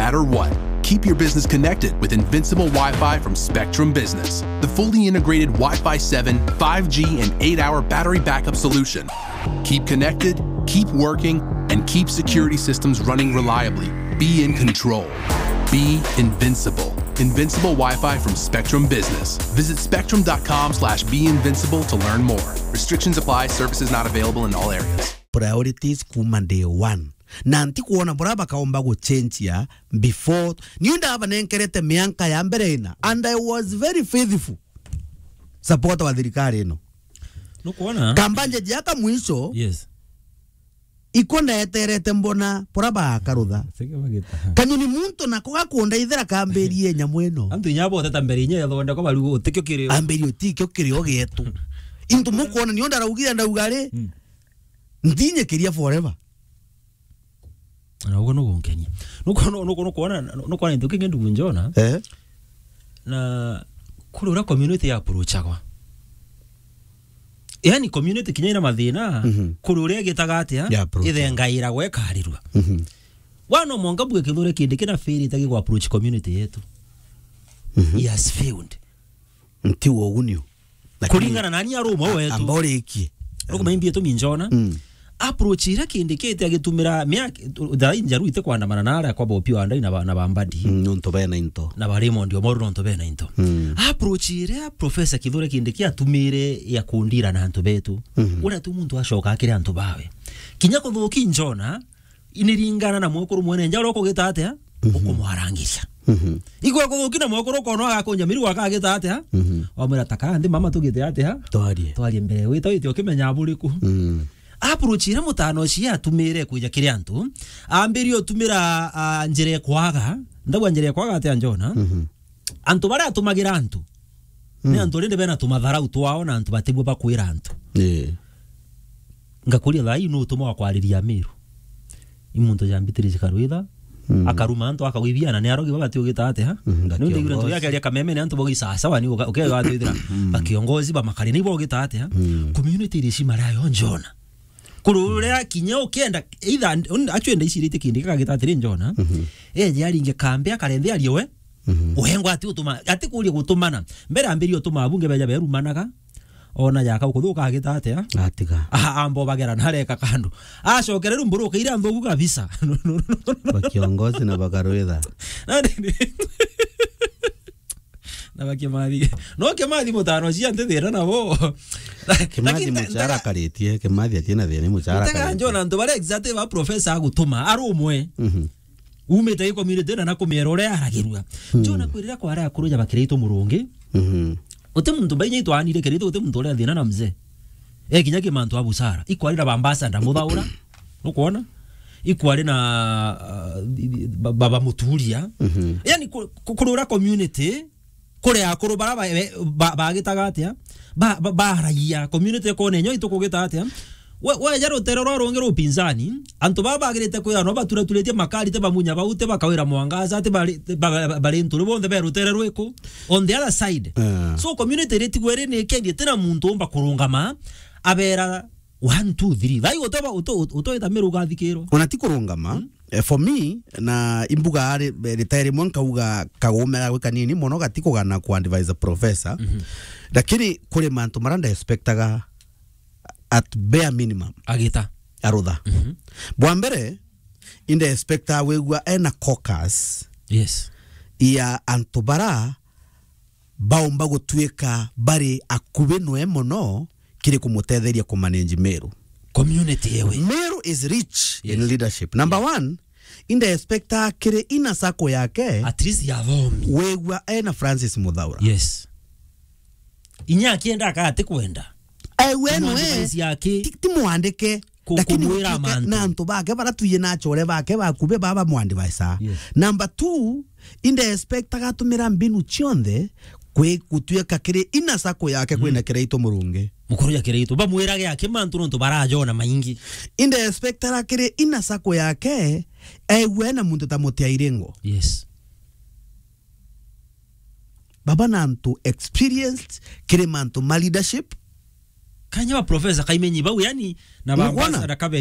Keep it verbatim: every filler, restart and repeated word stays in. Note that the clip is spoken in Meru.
matter what. Keep your business connected with Invincible Wi-Fi from Spectrum Business, the fully integrated Wi-Fi seven, five G, and eight-hour battery backup solution. Keep connected, keep working, and keep security systems running reliably. Be in control. Be invincible. Invincible Wi-Fi from Spectrum Business. Visit spectrum dot com slash be invincible to learn more. Restrictions apply. Services not available in all areas. Priorities kuma day one. Na ntikuona bura bakaomba guchenjia before. Niu ndabanenkerete mianka ya mbere ina, and I was very faithful supporter wa thirikari ino. Nukwona? Kamba njeje aka mwisho, yes, iko ndeterete mbona bura bakarutha. Sike bagita. Kanyoni muntu nako gakundeithira kambirie nyamu ino. Antu inya boteta mbere inya yathondekwa bariu utikio kirio. Ambirie utikio kirio gietu. Into mukwona nio ndaraugire ndauga ri, mm, ntinyekeria forever. Na uguo nugunkenia. Nukwona, nukwona, nukwona into kingi ndugu Njona. Eh? Na kuri uria community ya approachagwa. Yani community kinya ina mathina, mhm, kuri uria igitaga atia, ya approach, ithengairagwa ikarirua. Mhm. Wana mwanka mbue Kithure Kindiki na fail itagi ku approach community yetu. Mhm. He has failed. Nti wo unio. Lakini kuringana nani arumwa wetu. Amba urikie. Nukumaimbie tumi Njona. Mm. Approach iria Kindiki ite agitumira miaka, thaa injaru ite kwandamana na aria kwa Bobi Wandai na ba-, na ba Mbadi. Mm, nontu bena into. Na ba Raymond Omolo nontu bena into. Mm. Approach iria Professor Kithure Kindiki atumire ya kundira na antu betu. Mm. Uria tu muntu acoka akire antu bawe. Kinya kuthuki Njona, iniringana na mwekuru mwene nja uria ukugita atia, mhm, ukumwarangiria. Mhm. Igwe kuthuki na mwekuru ukona agakunja miru akagita atia, mhm, wamwira, "Takara nthi mama, tugite atia? Twarie." Twarie mbere. Wita wite ukimenya aburiku. Mm. Approach iria mutano ucio atumire kuja kiri antu, ambirie utumira, ah, njira ekwaga, ndagwa njira ekwaga atia Njona? Mhm. Antu baria atumagira antu, ni, mm, antu rindi bena tumatharau twao na antu batibua bakwira antu. Eh. Ngakuria thaa ii nu utuma wa kwariria Miru? I muntu ja Beatrice Karwitha, mm, akaruma antu akagwibia na ni arogi babati ugita atia? Mm, nda ndio ndio kiongozi. Ndio yake aria kameme ni antu bogi sawa sawa ni uga-, ukega atwithira, mm, ba kiongozi ba makari ni bogita atia? Mm. Community iri cima rayo Njona. Kuri uria kinya ukienda, either, un-, actually ndaicirite kindi gagita atiri Njona, mhm, eje aringe kambe akarenthe arie we, mhm, uhengwa ati utuma, ati kuria gutumana. Mbere ambirie utuma abunge beja berumanaga, ona jaka ukuthuka agita atia? Atiga. Aha, ambo bagera na areka kando. Acokere riu mburuka iria nthuku kabisa. Ba kiongozi na bakarwitha. Na ni-, ni-, na ba Kimathi. No Kimathi mutano cia nti thina nabo. Kimathi lakini ta-, muchara ta-, karitie, Kimathi atina thina muchara karitie. Njona antu baria exactly ba professor agutuma, arumwe. Mhm. Umite gi community na, na kumiera uria aragirua. Mm. Njona kwirira kwa aria akuru ja bakiraitu murungi. Mhm. Uti muntu mbainya itwanire kiraitu, uti muntu uria thina na mzee. E kinya ki mantu a busara. Ikwari na bambasa ndamuthaura. Nukwona? Ikwari na, ah, ba-, baba muturia. Mhm. Yani ku-, ku-, kurura community, kuri akuru bara ba-, ba-, bagitaga atia? Ba-, ba-, baragia community kone nyo itukugita atia? We, weja rutere rwa rungi rupinzani, antu baba bagirite kwira no baturaturitie makari te bamunya bau te bakawira mwangaza te bari, te ba-, ba-, bari nturi bonthe be rutere rwiku on the other side. Eh. So community iritigwe iri ni kendi tena muntu umba kurungama abera one, two, three. Thai utoba, uto-, uto-, utoita Miru ugathikirwa. Ona ti kurungama, mm, eh, for me, na imbuga ari, eh, rita rimwe nkauga kagumera gwi kanini mono gati kugana ku advise professor. Mhm. Lakini kuri mantu mara nda expectaga at bare minimum. Agita. Arutha. Mhm. Bwa mbere, inda expectaga wigua ena caucus, yes, ya antu bara baumba gutuika bari akubi nwe mono kiri kumutetheria kumanage Meru. Community yewe. Meru is rich in, yes, leadership. Number, yes, one, inda expecta kiri ina sako yake. At least ya thomi. Wegua ena Francis Muthaura. Yes. Inya akienda akati kwenda. Ewe nwe. Kumwandikithia aki. Ti, ti mwandike. Ku-, lakini kumwira gutuike mantu. Na antu bake bara tuye na achore bake bakubi baba mwandivisa. Yes. Number two, inda expect agatumira mbinu cionthe kwi gutuika kiri ina sako yake, mm, kwina Kiraitu Murungi. Mukuru ya Kiraitu. Bamwirage aki mantu nontu barajona maingi. Inda expect ara kiri ina sako yake, ewe na muntu ta Mutiairengo. Yes. Baba na antu experienced, kiri mantu ma leadership. Kanya ba professor Kaimenyi bau, yani, na ba ambassador Kabe